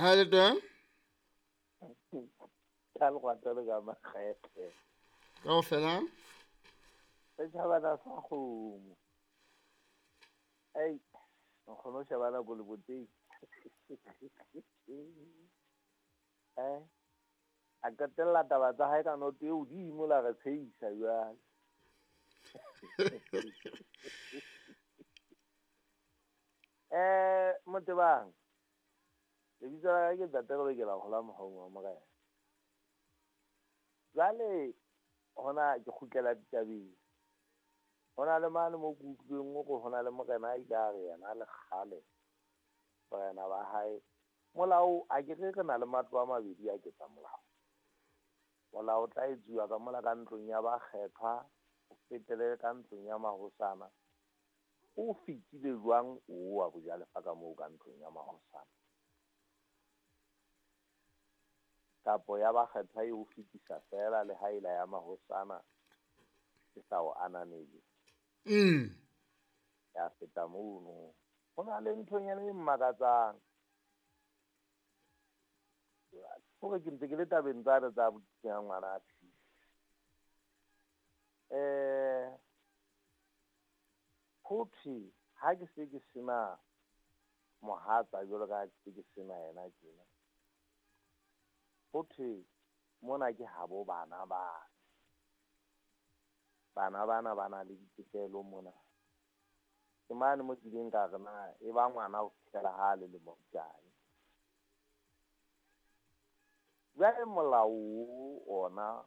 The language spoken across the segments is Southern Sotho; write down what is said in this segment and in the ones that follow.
Ha le teng? Ka lekgwatha le ka makgethe. Kaofela? Setjhabana sa kgomo. Ei, nkgono o sheba nako leboteng. A qetella taba tsa hae ka noto e hodimo la re tshehisa jwale. Motebang, lebitso la ka ke Ntate Lebekela Kgola Mohaung wa Morena. Jwale hona ke kgutlela ditabeng. Hona le mane mo ke utlwileng hore hona le morena a ile a re yena le kgale borena ba hae. Molao a ke re re na le matlo a mabedi a ketsa molao. Molao o tla etsuwa ka mola ka ntlong ya bakgethwa, o fetele ka ntlong ya mahosana. O fetile jwang o wa bojalefa ka moo ka ntlong ya mahosana? Kapo ya bakgethwa e o fetisa fela le ha ela ya mahosana e sa o ananele. Ya feta mono. Ho na le nthonyana e mmakatsang. Hore ke ntse ke le tabeng tsane tsa ya ngwana a Phisi. Ho thwe ha ke se ke sena mohatsa jwalo ka ha ke se ke sena yena tjena. Ho thwe mona ke habo bana ba. Bana bana ba na le ditokelo mona. Ke mane mo kileng ka re na e ba ngwana ho fihlela ha le lemo kae. Jwale molao ona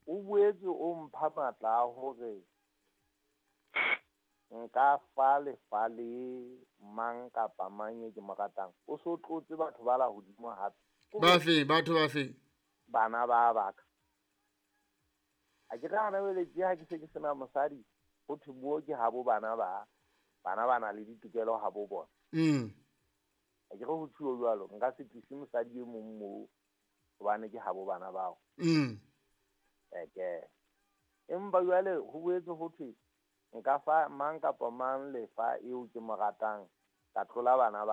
o boetse o mpha matla a hore nka fa lefa le mang kapa mang e ke mo ratang. O so tlotse batho ba la hodimo hape. Ba fe, batho ba fe? Bana ba baka. A ke re hana jwale tje ha ke se ke sena mosadi, ho thwe moo ke habo bana ba. Bana ba na le ditokelo habo bona. A ke re ho thuo jwalo, nka se tlise mosadi e mong moo hobane ke habo bana bao. Eke. Empa jwale ho boetse ho thwe nka fa mang kapa mang lefa eo ke mo ratang, ka tlola bana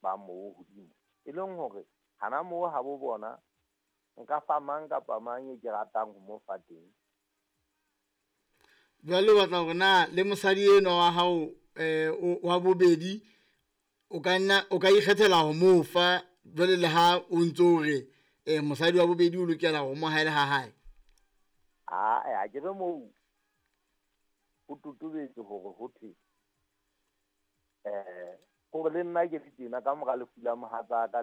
ba moo hodimo. E leng hore hana moo habo bona nka fa mang kapa mang e ke ratang ho mo fa teng. Jwale o batla hore na le mosadi enwa wa hao wa bobedi o ka nna o ka ikgethela ho mo fa jwale le ha o ntso o re mosadi wa bobedi o lokela ho mo haele ha hae. A ke re moo ho totobetse hore ho thwe hore le nna ke le tjena ka mora lefu la mohatsaka.